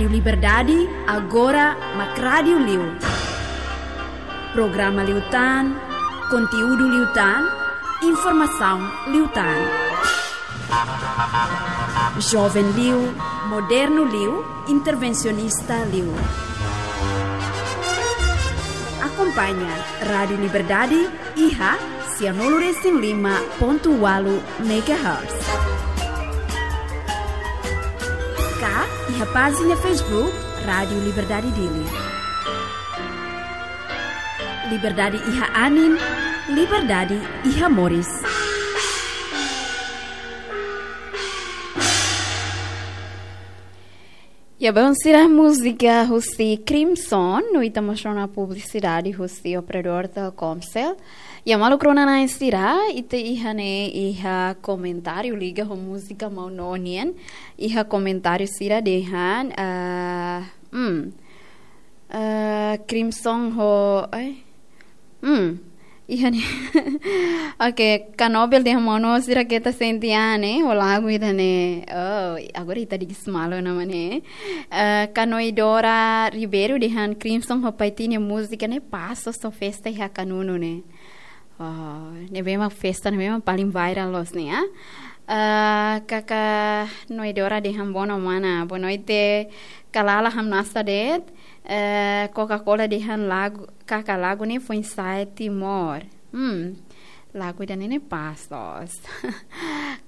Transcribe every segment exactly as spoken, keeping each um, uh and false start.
Rádiu Liberdade, agora mak rádiu liu. Programa liután, konteúdu liután, informasaun liután. Joven liu, modernu liu, intervensionista liu. Akompaña Rádiu Liberdade iha sianulu resin lima pontu ualu megahertz. Ka iha pájina Facebook Rádiu Liberdade Dili. Liberdade iha anin, liberdade iha moris. Ya, bom, sira múzika husi Crimson, no ita mós rona publisidade husi operadór Telkomcel. Ya, maluk rona-na'in sira, ita iha ne'e, iha komentáriu liga ho múzika Maun Nonien, iha komentáriu sira dehan, ah, hmm, ah, Crimson ho, eh, hmm, iha ne'e. Oke, Kanobel dehan Maun Nonien sira keta sente an ne'e, ho lagu ida-ne'e. Oh, agora ita dikis malu nama ne'e. Eh, Kanoidora Ribeiro dehan Crimson ho Paitini múzika ne'e pas sosa festa iha Kanunu ne'e. Oh, ne'ebé mak festa, ne'ebé mak paling viral loos ne'e, ah. Eh, Kaka Noidora dehan bono mana, boa noite, kalala hamnasa de'it, eh, Coca-Cola dehan lagu, kaka lagu ne'e foin-sa'e Timor. Hmm, lagu ida-ne'e ne'e pas loos.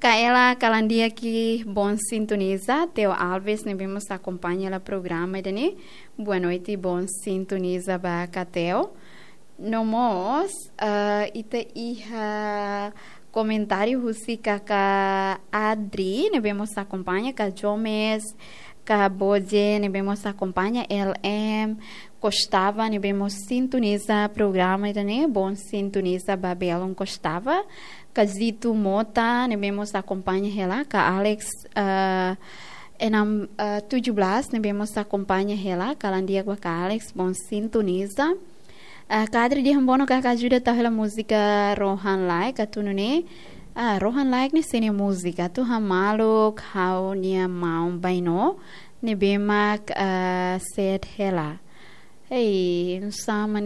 Kaela Kalandia ki bom sintoniza, Teo Alves ne'ebé mós akompaña hela programa ida-ne'e. Boa noite, bom sintoniza ba Ka Teo. No mós, ah, ita iha komentáriu husi Kaka Adri, ne'ebé mós akompaña, Ka Jomes, Ka Boje, ne'ebé mós akompaña, L M Kostava, ne'ebé mós sintoniza programa ida-ne'e, bom sintoniza ba belun Kostava, Ka Zito Mota, ne'ebé mós akompaña hela, Ka Alex, ah, enam, ah, tujuh belas, ne'ebé mós akompaña hela, kalan di'ak ba Ka Alex, bom sintoniza. Ah, Ka Adri dehan bono kaka ajuda tau hela múzika Rohan Laek, atu nune'e. Ah, Rohan Laek ne'e sé nia múzika, atu hamaluk ha'u-nia maun baino, ne'ebé mak, ah, sede hela. Hei, sama